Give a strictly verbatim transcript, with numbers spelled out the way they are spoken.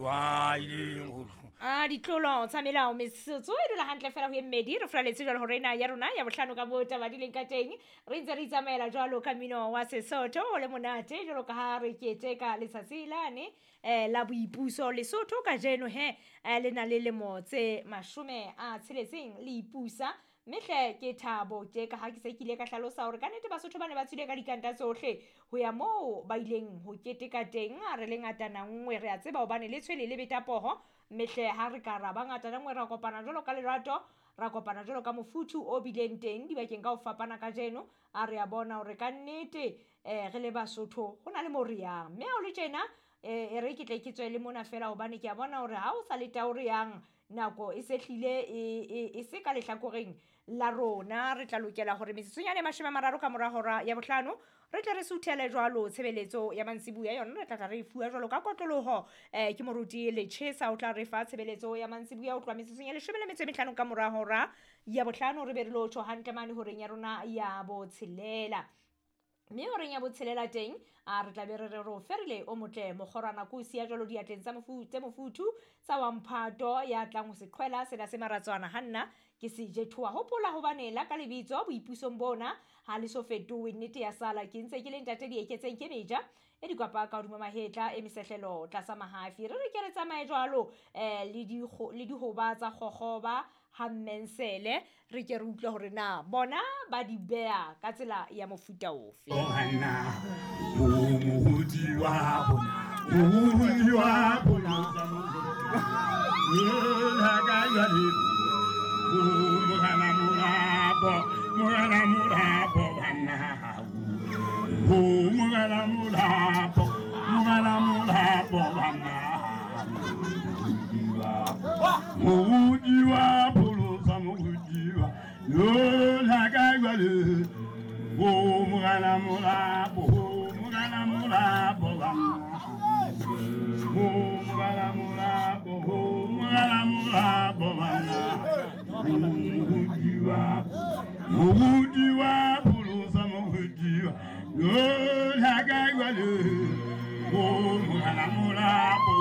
Wa ileng ho A ditlolo tsa melao metsotso e dula hantle fela ho e mmedi re furaletse jwalo hore ena ya rona ya bohlano ka moo taba di leng ka teng. Re ntse re itsamaela jwalo ka mmino wa Sesotho o le monate jwalo ka ha re keteka letsatsi lane eh, la boipuso Lesotho kajeno he eh, le na le lemo tse mashome a tsheletseng le ipusa. Mme hle ke thabo tje ka ha ke se ke ile ka hlalosa hore kannete Basotho ba ne ba tswile ka dikanta tsohle ho ya moo ba ileng ho keteka teng. A re le ngatana nngwe re a tseba hobane le tshwele le beta poho. Mme hle ha re ka ra ba ngatana nngwe ra kopana jwalo ka lerato, ra kopana jwalo ka mofuthu o bileng teng dibakeng ka ho fapana kajeno. A re a bona hore kannete eh, re le Basotho ho na le moo re yang. Mme ha o le tjena eh, e re ke tle ke tswe le mona fela hobane ke a bona hore ha o sa le tao re yang nako e se hlile e, e, e se ka lehlakoreng la rona. Re tla lokela hore metsotsonyane e mashome a mararo ka mora hora ya bohlano re tle re suthele jwalo tshebeletso ya mantsibuya yona re tla tla re e fuwa jwalo ka kotloloho eh, ke moruti Lechesa o tla re fa tshebeletso ya mantsibuya ho tloha metsotsong ya leshome le metso e mehlano ka mora hora ya bohlano re be re lo tjho hantle mane horeng ya rona ya botshelela. Mme horeng ya botshelela teng a re tla be re re re o ferile o motle mokgorwana ko o siya jwalo diatleng tsa mofu-, tse mofuthu tsa wa mphato ya tlang ho se qhwela sena se maratswana ha nna ke se jethoa. Hopola hobane la ka lebitso boipusong bona ha le so fetohe, nnete ya sala ke ntse ke le ntate Dieketseng ke meja e dikwapa ka hodima mahetla e mesehlelo tlasa mahafi. Re re ke re tsamaye jwalo eh, le dikgo-, le dihoba tsa kgokgoba ha mmensele re ke re utlwe hore na bona ba di beha ka tsela ya mofuta ofe. Bona, o mohodi wa bona, mohodi wa bona. La ka jwale, o morena molapo, morena molapo bana. O morena molapo, morena molapo bana. Mohodi wa pholosa, mohodi wa la ka jwale, o morena molapo, morena molapo bana. O morena molapo, morena molapo bana. Mohodi wa, mohodi wa pholosa, mohodi wa la ka jwale, o morena molapo,